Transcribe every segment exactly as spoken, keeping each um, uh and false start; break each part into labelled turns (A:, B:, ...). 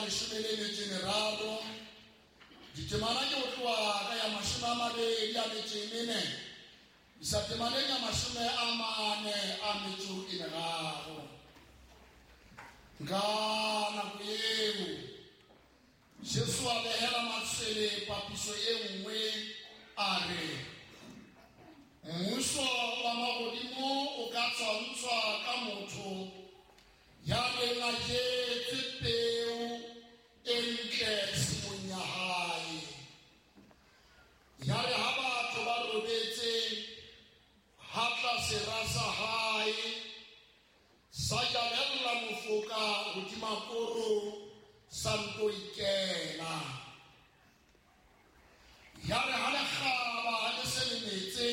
A: leshome le metso e meraro ditemana ke ho tloha ka ya mashome a mabedi a metso e mene isa temaneng ya mashome a mane a metso e meraro. Ka nako eo Jesu a behela matshwele papiso e nngwe a re, mmuso wa mahodimo o ka tshwantshwa ka motho ya neng a jetse peo e ntle tshimong ya hae. Yare ha batho ba robetse, ha tla sera sa hae sa jalella mofoka hodima koro sa nto ikela. Yare ha lekgaba le se le metse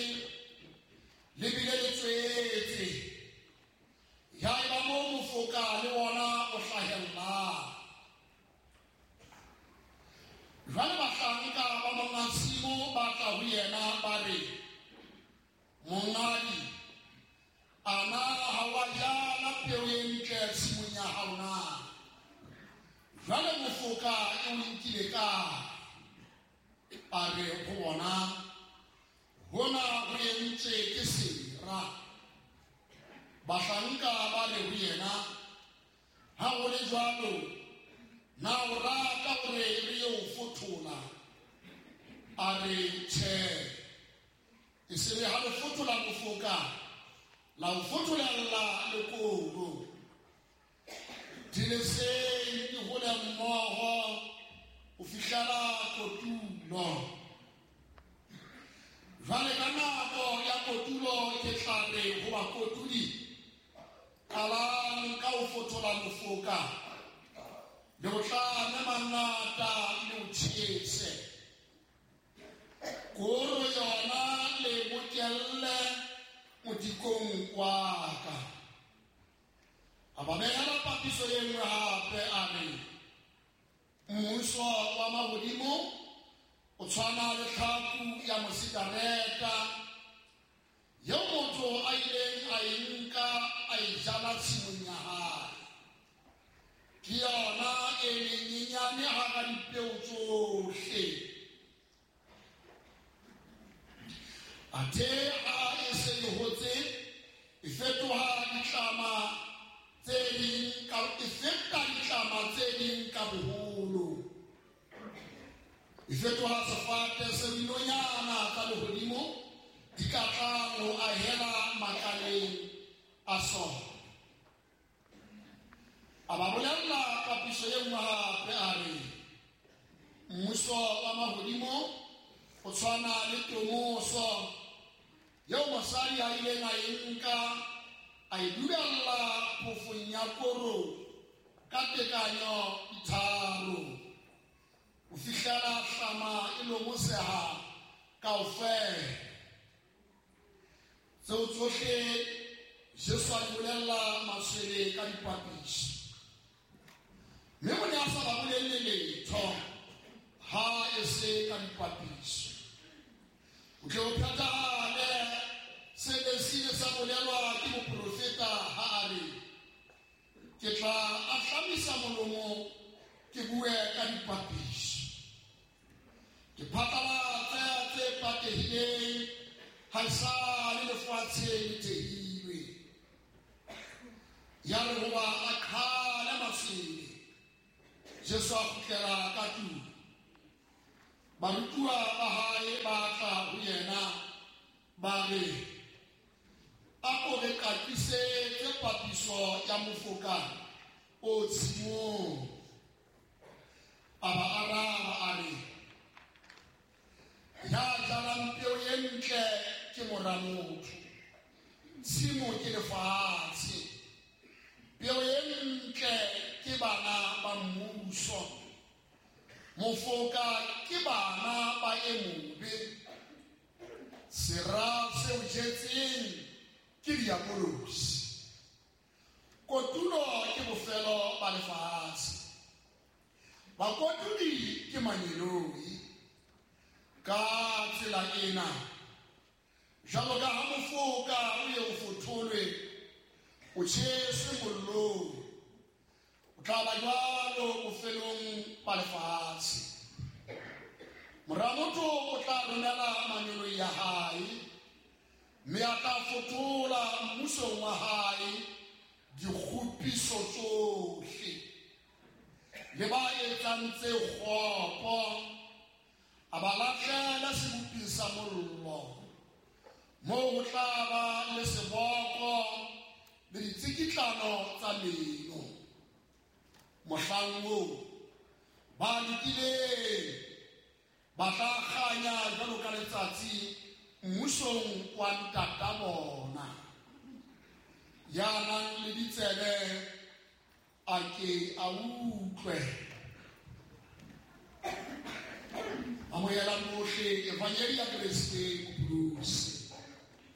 A: le bile le tswetse, ya eba moo mofoka le wona o hlahellang. Jwale bahlanka ba monga tshimo ba tla ho yena ba re, monghadi, ana ha wa jala peo e ntle tshimong ya hao na? Jwale mofoka e o nkile kae? A re ho bona, hona ho entswe ke sera. Bahlanka ba re ho yena, ha ho le jwalo, na o rata hore re yo fothola? A re, tjhe, e se re ha le fothola mofoka, la o fotholella le koro. Di leseng di hole mmoho ho fihlela kotulo. Jwale ka nako ya kotulo ke tla re ho bakotudi, qalang ka ho fothola mofoka, le ho tlame mangata le ho tjhese. Koro yona le bokelle modikong wa ka. A ba behela papiso e nngwe hape a re, mmuso wa mahodimo o tshwana le tlhaku ya mosikareta eo motho a ileng a e nka a e jala tshimong ya hae. Ke yona e menyenyane hara dipeo tsohle. Athe ha e se e hotse, e fetoha ditlama tse ding ka e feta ditlama tse ding ka boholo. E fetoha sefate se dinonyana tsa lehodimo di ka tlang ho ahela makaleng a sona. A ba bolella papiso e nngwe hape a re, mmuso wa mahodimo o tshwana le tomoso eo mosadi a ileng a e nka a e dubella phofong ya koro ka tekanyo di tharo ho fihlela hlama e lomoseha kaofela. Tseo tsohle Jesu a di bolella matshwele ka dipapiso, mme o ne a sa ba bolelle letho ha e se ka dipapiso. O tle o phethahale se ne se ile sa bolelwa ke moprofeta ha a re, ke tla ahlamisa molomo ke bue ka dipapiso, ke phatlalatse tse patehileng ha esale lefatshe le tehilwe. Yare hoba a qhale matshwele, Jesu a kgutlela ka tlung. Barutuwa ba hae ba tla ho yena ba re, a ko re qaqisetse papiso ya mofoka o tshimong. A ba araba a re, ya jalang peo e ntle ke mora motho, tshimo ke lefatshe, peo e ntle ke bana ba mmuso, mofoka ke bana ba e mobe, sera se o jetseng ke diabolosi, kotulo ke bofelo ba lefatshe, bakotudi ke mangeloi. Ka tsela ena, jwalo ka ha mofoka o ye o fotholwe, o tjheswe mollong, o Ho tla ba jwalo bofelong ba lefatshe. Mora motho o tla romela mangeloi a hae, mme a tla fothola mmusong wa hae dikgopiso tsohle le ba etsang tse kgopo, a ba lahlela seboping sa mollo, moo ho tla ba le seboko le ditsikitlano tsa meno. Mohlang oo ba lokileng ba tla kganya jwalo ka letsatsi mmusong wa ntata bona. Ya nang le ditsebe a ke a utlwe. Amohelang bohle evangeli ya Kreste Mopholosi.